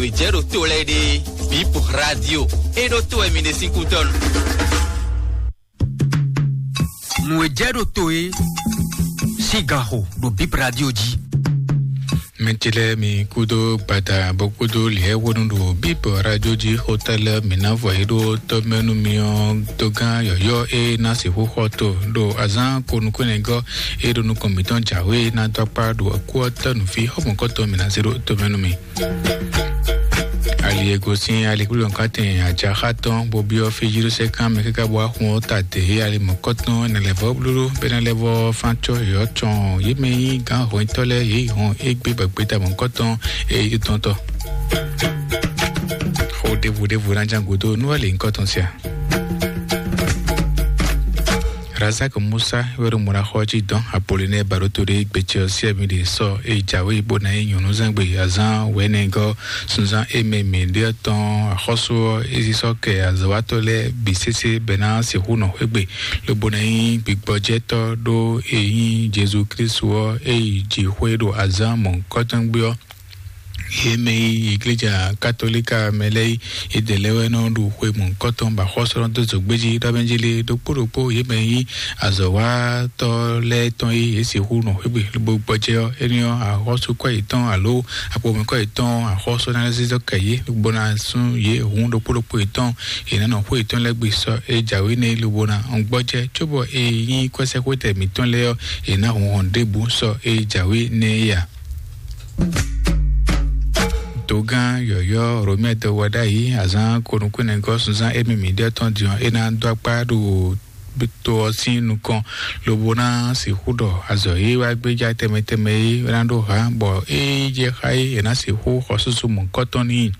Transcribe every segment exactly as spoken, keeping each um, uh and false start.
Nǔ e jɛ ɖo to lɛ́ɛ ɖe, Bip Radio, é ɖó to wɛ mi ɖe sín kútɔ́nu. Nǔ e jɛ ɖo to é sín ganxo ɖo Bip Radio jí. Mɛ ce lɛ́ɛ mi kúdó gbada bó kúdó lǐɛ́wónú ɖo Bip Radio jí xóta lɛ́ɛ mi ná vɔ yě ɖó tɔ́mɛnú mi ɔ́ dó gán yɔ̌yɔ́ e ná sixú xɔ to ɖo azǎn ko nukúnnɛgɔ́ e ɖo nukɔn mǐtɔn jǎwe ná dó akpá ɖo kú ɔ́ tɔ́ nǔ fí xɔmɔ̌kɔtɔn mi ná zé ɖó tɔ́mɛnú mi. Ali e gosín alikúlɔ́nkátɛn ajaxá tɔn bó byɔ́ fí Jelúsɛ́kan mɛ káká bó wá xun ɔ́ ta dě ali mɔ̌kɔtɔn nɛ lɛ́ vɔ́ blúɖú bɛ́ ná lɛ́ vɔ́ fán cɔ́ yɔ̌ cɔn yě mɛ nyí gǎn hɔnyitɔ́ lɛ́ɛ yě yi hɔn égbé bɔ gbeta mɔ̌kɔtɔn e yí tɔn tɔ́. Xó ɖěvo ɖěvo ná ján gǔdo nú wɛ lě nyǐkɔ tɔn sia. Razak Musa wɛ ɖo mɔɖaxɔ jí dɔn Apolinɛ Baɖoto ɖe gbecɛ ɔ́ sí ɛmi ɖe sɔ e jǎwe bó ná nyí nyɔ̌núzɛ́ngbe azán wɛ̌nɛgɔ́ sunzán e mɛ mǐ ɖe ɔ́ tɔn axɔ́sú ɔ́, é zí sɔ́ kɛ azɔ̌watɔ́ lɛ́ɛ bǐ sésé bɔ é ná sixú nɔ xwé gbe, lobo ná nyí gbigbɔjɛ́tɔ́ ɖó e nyí Jezu Klísu ɔ́ e yi jǐxwé ɖo azán mɔ̌hunkɔtɔn gbé ɔ́. Yě mɛ e nyí igleja katolíka mɛ lɛ́ɛ é, yědɛɛ lɛ́ɛ wɛ nɔ ɖu xwe mɔ̌hunkɔtɔn bɔ axɔ́sú nɔ dó zǒgbéjí ɖɔ mɛ jí lé ɖokpó ɖokpó yě mɛ e nyí azɔ̌watɔ́ lɛ́ɛ tɔn e yě sixú nɔ xwé gbe lobo gbɔjɛ́ ɔ́, énɛ́ ɔ́, axɔ́súkɔ́ yětɔn alo akpomɛkɔ́ yětɔn axɔ́sú ná lɛ́ zízɔ́ kɛ yě lobo ná sú yě hǔn ɖokpó ɖokpó yětɔn, yě ná nɔ xwé yětɔn lɛ́ɛ gbe sɔ e jǎwe nɛ́ lobo ná gbɔjɛ́ cóbɔ e nyí kwɛ́sɛ́xwétɛn mǐtɔn lɛ́ɛ ɔ́, yě ná hun hɔn ɖěbǔ sɔ e jǎwe nɛ́ é a. Dǒgán yɔ̌yɔ́ Romɛ́ɛ dɔwɛɖ'ayǐ azǎn konukúnɛgɔ́ sunzán émí mǐɖíɔ́ tɔn din ɔ́, é ná dó akpá ɖo to ɔ́ sín nukɔn, lobo ná sixú ɖɔ azɔ̌ e wá gbéjá tɛnmɛ tɛnmɛ é ná ɖó hǎ, bɔ ée jɛ xá é, è nǎ sixú xɔ súsú mɔ̌hunkɔtɔn n'i.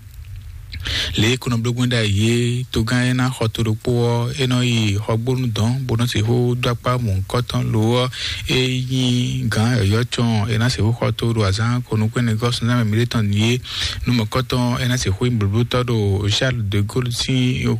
Lě e kɔnɔblógbɛ́n ɖ'ayǐ é, togán e ná xɔ to ɖokpó ɔ́, é nɔ yi xɔgbónu dɔn, bó nɔ́ sixú dó akpá mɔ̌hunkɔtɔn lo ɔ́, é nyí gǎn yɔ̌yɔ́ cɔn, é ná sixú xɔ to ɖo azǎn konukúnɛgɔ́ sunzán mɛ mǐɖítɔn din é. Nú mɔ̌hunkɔtɔn é ná sixú nyí blǒblótɔ́ ɖo Charles de Gaulle sín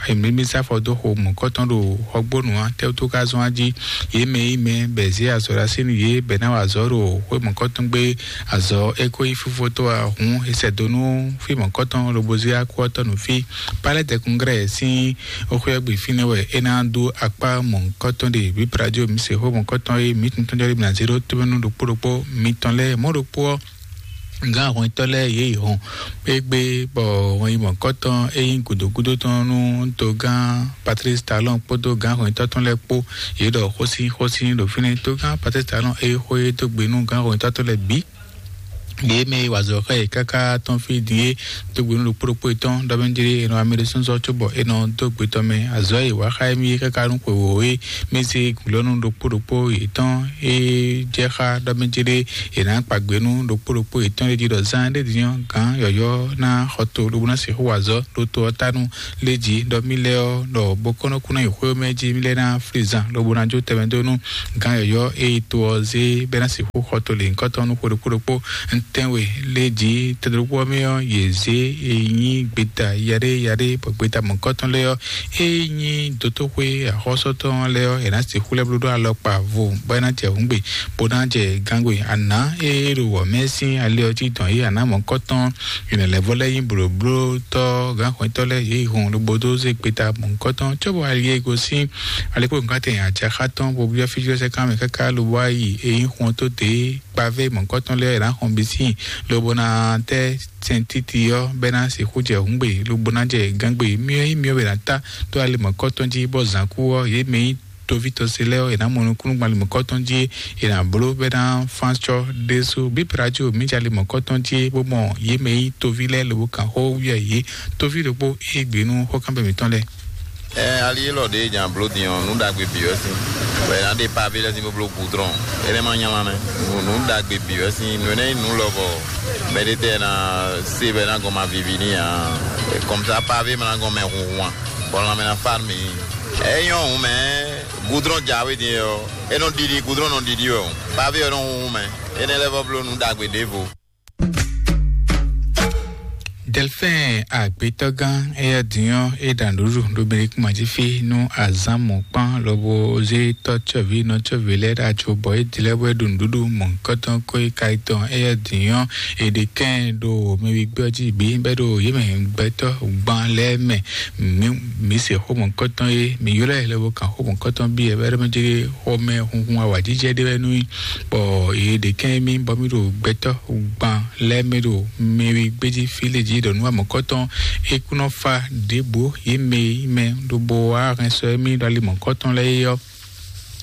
mǐmísá afɔ dó xo mɔ̌kɔtɔn ɖo xɔgbónu ǎ, tɛ́wútu ka zɔ́n á jí? Yě mɛ e nyí mɛ bɔ è zě azɔ̌ ɖó así nú yě bɔ è nǎ wa azɔ̌ ɖo xwé mɔ̌kɔtɔn gbé, azɔ̌ e ko nyí fífó tó ǎ hǔn, è sɛ do nú fí mɔ̌kɔtɔn lobo zé akú ɔ́ tɔ́ nú fí. Palais des Congrès sín xwé ɔ́ gbe fínɛ́ wɛ é ná dó akpá mɔ̌kɔtɔn ɖe. Bíblaɖó mi se xwé mɔ̌kɔtɔn e mǐ tuntun jɔ ɖé mi ná zé ɖó tómɛnú ɖokpó ɖokpó mitɔn lɛ́ɛ mɔ̌ ɖokpó ɔ́. Gǎn hwɛntɔ́ lɛ́ɛ yě yi hɔn égbé, bɔ hɔn yi mɔ̌kɔtɔn e nyí gǔdo gúdo tɔn nú togán Patrice Talon kpódó gǎn hwɛntɔ́ tɔn lɛ́ɛ kpó, yě ɖɔ xósín xósín ɖo fínɛ́. Togán Patrice Talon e xó e dó gbe nú gǎn hwɛntɔ́ tɔn lɛ́ɛ bǐ, yě mɛ e wa azɔ̌ xá yě káká tɔn fí din é dó gbe nú ɖokpó ɖokpó yětɔn ɖɔ mɛ jlé è nɔ amɛ ɖésúnzɔ́ cóbɔ è nɔ dó gbe tɔn mɛ. Azɔ̌ e wa xá émí é káká nú xwewǒ é mɛ zé gǔlɔ́nú ɖokpó ɖokpó yětɔn e jɛ xá ɖɔ mɛ jlé è nǎ kpa gbe nú ɖokpó ɖokpó yětɔn lɛ́ɛ jí ɖɔ zán ɖé din ɔ́, gǎn yɔ̌yɔ́ ná xɔ to lobo ná sixú wa azɔ̌ ɖo to ɔ́ ta nú lé jí ɖɔ mì lɛ́ɛ ɔ́, ɖɔ bó kɔ́ nɔ kú ná yi xwé mɛ jí mì lɛ́ɛ ná flí zan lobo ná jó tɛnmɛ dó nú gǎn yɔ̌yɔ́ e yi to ɔ́ zé bɔ é ná sixú xɔ to lěhunkɔtɔn nú xwe ɖokpó ɖokpó. Ntɛ́nwe lé jí tɛn ɖokpó ɔ́ mɛ ɔ́, yě zé e nyí gbeta yaɖé yaɖé, bɔ gbeta mɔ̌kɔtɔn lɛ́ɛ ɔ́, e nyí dotóxwé axɔ́sɔ́tɔn lɛ́ɛ ɔ́, è nǎ sixú lɛ́ bló ɖó alɔkpa vo bɔ é ná jɛ hǔngbe, bó ná jɛ gangbe. Ana e ɖo wɔ̌ mɛ sín ali ɔ́ jí dɔn yě ana mɔ̌kɔtɔn, yě nɔ lɛ́ vɔ lɛ́ nyí blǒblótɔ́ gǎnxwɛ́tɔ́ lɛ́ɛ yě yi hun lobo dó zé gbeta mɔ̌kɔtɔn cóbɔ ali e gosín alekpónukátɛn ajaxá tɔn bó byɔ́ fíjlɔ́sɛ́kán mɛ káká lobo wá yi e nyí xɔn tó dě kpavé mɔ̌kɔtɔn lɛ́ɛ è nǎ xɔn bǐ síin, lobo ná tɛ́ sɛntíti ɔ́ bɔ é ná sixú jɛ hǔngbe, lobo ná jɛ gǎngbe. Myɔ e nyí myɔ wɛ è nǎ ta dó ali mɔ̌kɔtɔn jí, bɔ zǎn kú ɔ́, yě mɛ e nyí toví tɔn se lɛ́ɛ ɔ́, è nǎ mɔ nukúnnú gbɔn ali mɔ̌kɔtɔn jí, è nǎ bló bɔ é ná fán acɔ́ ɖésú. Bíblaɖó mǐ jɛ ali mɔ̌kɔtɔn jí, bó mɔ yě mɛ e nyí toví lɛ́ɛ lobo kan xó wú yɛ yě. Toví ɖokpó e gbe nú xɔ́kánbɛ́ mǐtɔn lɛ́ɛ. Ɛ ali élɔ́ ɖě nya bló din ɔ́, nǔ ɖagbe bǐ wɛ sín. Bɔ è nǎ ɖe pavé lɛ́ɛ sín bó bló gudrɔn. Énɛ́ ma nyama mɛ. Nǔ nǔ ɖagbe bǐ wɛ sín. Nǔ énɛ́ nyí nǔ lɔbɔ mɛɖé tɛ́ ná se bɔ é ná gɔn ma vivi n'i ǎ. Kɔmsa pavé ma ná gɔn mɛ hunhun ǎ. Bɔ lanmɛ ná fá mǐ. É nyɔ́ hǔn mɛ, gudrɔn jǎwe din ɔ́, é nɔ ɖiɖi, gudrɔn nɔ ɖiɖi wɛ o. Pavé ɔ́ nɔ hunhun mɛ. Énɛ́ lɛ́ vɔ bló nǔ ɖagbe ɖěvo. Delfin agbetɔgán, eya dinyɔ e ɖa nǔɖuɖu ɖo Mɛlikúma jí fí nú azǎn mɔ̌kpán lobo zé tɔ́ cɔ́ví nɔ cɔ́ví lɛ́ɛ ɖo ajo bɔ é dilɛ bɔ é ɖo nǔɖuɖu mɔ̌kɔtɔn kó é ka tɔn, eya dinyɔ e ɖe kɛn ɖo mɛwigbé ɔ́ jí bǐ bɛ́ ɖo yě mɛ gbɛtɔ́ gban lɛ́ɛ mɛ. Mǐ mǐ se xó mɔ̌kɔtɔn e mǐ ylɔ́ ɛ lobo kan xó mɔ̌kɔtɔn byɔ́ ɛ bɛ́ ɖɔ mɛ jɛ xɔmɛ hunhun awǎjijɛ ɖé wɛ nú i. Bɔ yě ɖe kɛn mì bɔ mì ɖo gbɛtɔ́ gban lɛ́ɛ mɛ ɖo mɛwi gbéjí fí lě jí ɖɔ nú amɔ̌kɔtɔn é kún nɔ fa ɖěbǔ yě mɛ yi mɛ ɖo bo wá hɛn sɔ émí ɖo ali mɔ̌kɔtɔn lɛ́ɛ é ɔ́,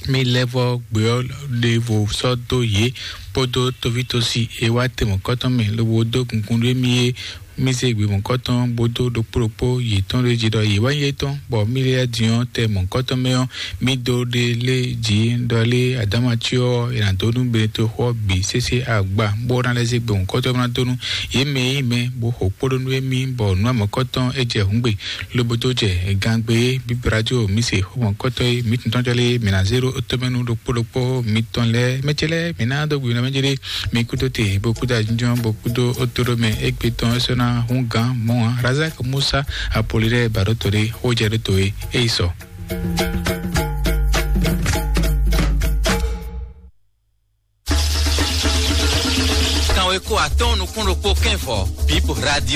mì lɛ́ vɔ gbé ɔ́ ɖěvo sɔ́ dó yě kpódó tovítɔ́si e wá te mɔ̌kɔtɔn mɛ lobo dó gungun ɖó émí é. Mì zé gbě mɔ̌kɔtɔn bó dó ɖokpó ɖokpó yětɔn ɖó jí ɖɔ yě wá nyí étɔn, bɔ mì lɛ́ din ɔ́ tɛ mɔ̌kɔtɔn mɛ ɔ́, mì dó ɖe lé jí ɖɔ lé adámací ɔ́ è nǎ dó nú Benetoxo ɔ́ bǐ sésé agba, bó ná lɛ́ zé gbě mɔ̌kɔtɔn bó ná dó nú yě mɛ e nyí mɛ bó xo kpóɖó nú émí, bɔ nǔ amɔ̌kɔtɔn é jɛ hǔngbe, lobo dó jɛ gangbe é. Bíbí radio mì se xó mɔ̌kɔtɔn e mǐ tɔn tɔn jɔ lé mǐ ná zé ɖó tomɛ nú ɖokpó ɖokpó mitɔn lɛ́ɛ. Mɛ ce lɛ́ɛ mǐ ná dó gbe nɔ mɛ jɛ ɖé. Mi kúdó te bó kúdó ajínjɔ́n bó kúdó ótóɖó mɛ égbé tɔn é sɔ́ ná hún gǎn mɔ̌ ǎ. Razak Musa Apolinaire Baɖótole xójɛɖótó e é yi sɔ. Kanweko atɔ́ɔ́n nukún ɖokpó kɛ́nvɔ Bib Radio.